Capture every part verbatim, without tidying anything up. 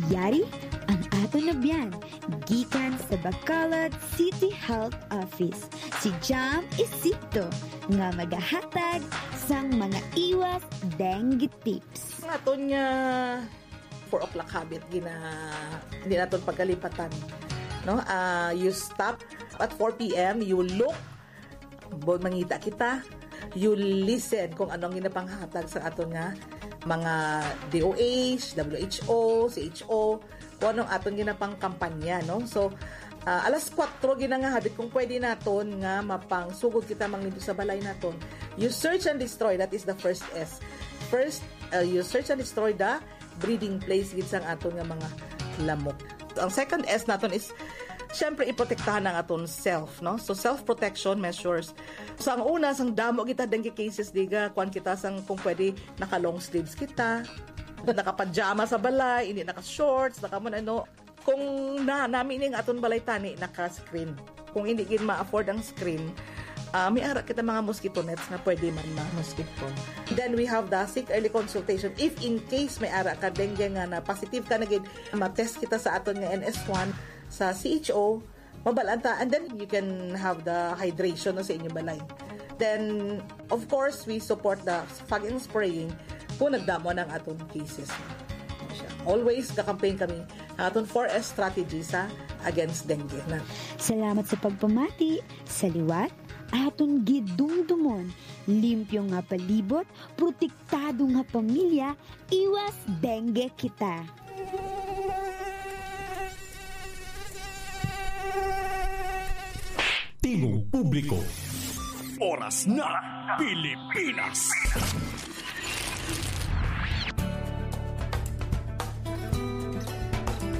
Yari ang aton abyan gikan sa Bacolod City Health Office, si Jam Isito, nga magahatag sang mga iwas dengue tips. Ang aton nga four o'clock habit, gina-, hindi naton pagkalipatan, no? Ah, you stop at four p.m., you look, bo-, mangita kita, you listen kung anong ginapanghatag sa aton nga mga D O H, W H O, C H O, kung anong aton ginapangkampanya, no? So, ah, alas kuwatro gina nga habit, kung pwede naton nga mapangsugod kita manglimpyo sa balay naton. You search and destroy, that is the first S. First, uh, you search and destroy the breeding place gid sang aton nga mga lamok. Ang second S naton is, syempre, iprotektahan ang aton self, no? So, self-protection measures. So, ang una, sang damo kita dengue cases, diga, kuwan kita sang, kung pwede, naka-long sleeves kita, naka-pajama sa balay, hindi naka-shorts, naka mo ano. Kung na, nami ning aton balay tani, naka-screen. Kung hindi gid ma-afford ang screen, ah, may ara kita mga mosquito nets nga pwede man ma-mosquito. Then we have the seek early consultation. If in case may ara ka dengue nga na positive ka na gid, ma-test kita sa aton nga N S one, sa C H O, mabalaan ta. And then you can have the hydration na sa inyong balay. Then, of course, we support the fogging spraying kung nagdamo na ang aton cases. Siya. Always ka-campaign kami ang aton four S strategy sa against dengue na. Salamat sa pagpamati. Sa liwat, aton gidumdumon, limpyo nga palibot, protektado nga pamilya, iwas dengue kita. Tingog publiko. Oras na, Pilipinas.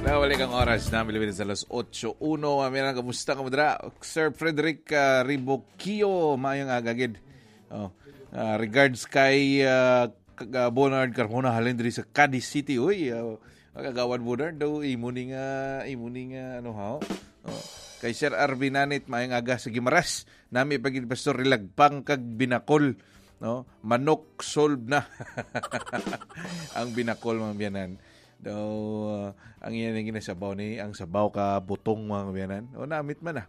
Nawalik ang oras na, Pilipinas, alas otso uno. Mami, kamusta ka mo dira? Sir Frederick, ah, Riboquio, maayong aga gid. Oh, ah, regards kay, ah, Kag-, ah, Bonard Carmona halin diri sa Cadiz City. Uy, ah, Kagawad Bonard daw, imo ni nga, imo ni nga, ano, ha? Oh. Kay Sir Arvin Nanit, maayong aga sa Guimaras. Nami pa gid, Pastor, Rilagpang kag binakol, no? Manok, solve na. Ang binakol, mga biyanan. Daw, ah, ang iyan ang ginasabaw ni, ang sabaw ka butong, mga biyanan. O, namit man na.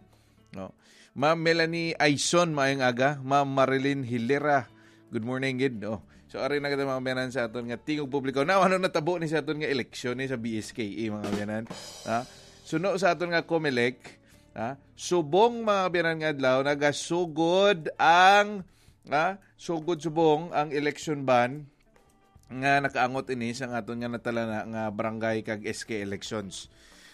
No? Ma'am Melanie Aison, maayong aga. Ma'am Marilyn Hilera, good morning gid. Oh. So, ari na kita, mga biyanan, sa aton nga tingog publiko. Now, ano natabo ni sa aton nga eleksyon ni sa B S K A, mga biyanan? Ha? Suno sa aton nga Comelec, ha? Subong, mga biyanan, nga adlaw, nagasugod ang, ha? Sugod subong ang election ban nga nakaangot ini sang aton nga natalana nga barangay kag S K elections.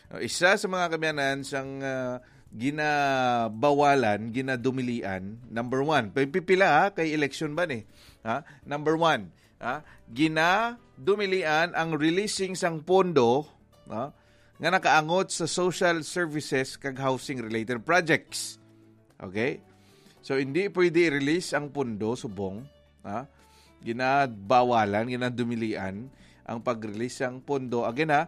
Uh, isa sa mga kabiyanan sang, uh, ginabawalan, ginadumilian, number one, pi-, pipila, ha, kay election ban eh. Ha? Number one, ha, ginadumilian ang releasing sang pondo, ha, nga nakaangot sa social services kag housing related projects. Okay? So, hindi pwede i-release ang pondo subong, ha? Ginabawalan, ginadumilian ang pag-release sang pondo. Again, ha,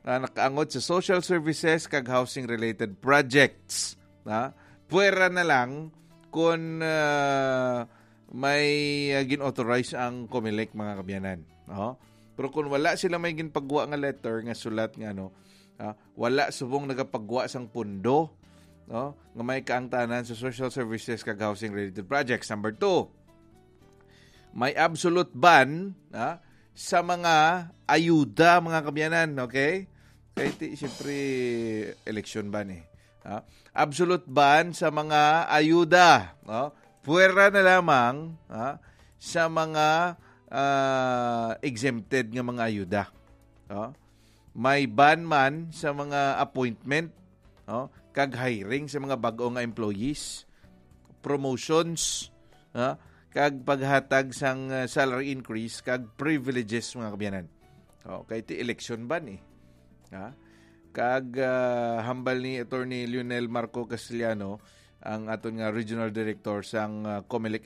ah, nakaangot sa social services kag housing-related projects, ha? Pwera na lang kung, ah, may, ah, gin-authorize ang Comelec, mga kabiyanan. Oh? Pero kung wala sila may ginpagwa nga letter, nga sulat nga ano, ah, wala subong nagapagwa sang pondo, no, nga may kaangtanan sa social services kag housing related projects. Number two, may absolute ban, ah, sa mga ayuda, mga kabiyanan, okay? Kay ti, siyempre, election ban eh. Ah, absolute ban sa mga ayuda, no? Pwera na lamang, ah, sa mga, ah, exempted nga mga ayuda. No? May ban man sa mga appointment, no, kag hiring sa mga bag-o nga employees, promotions, no, kag paghatag sang, uh, salary increase kag privileges, mga kabiyanan. Oh, kay ti election ban eh. Ha? Kag, uh, hambal ni Attorney Lionel Marco Castellano, ang aton nga regional director sang, uh, Comelec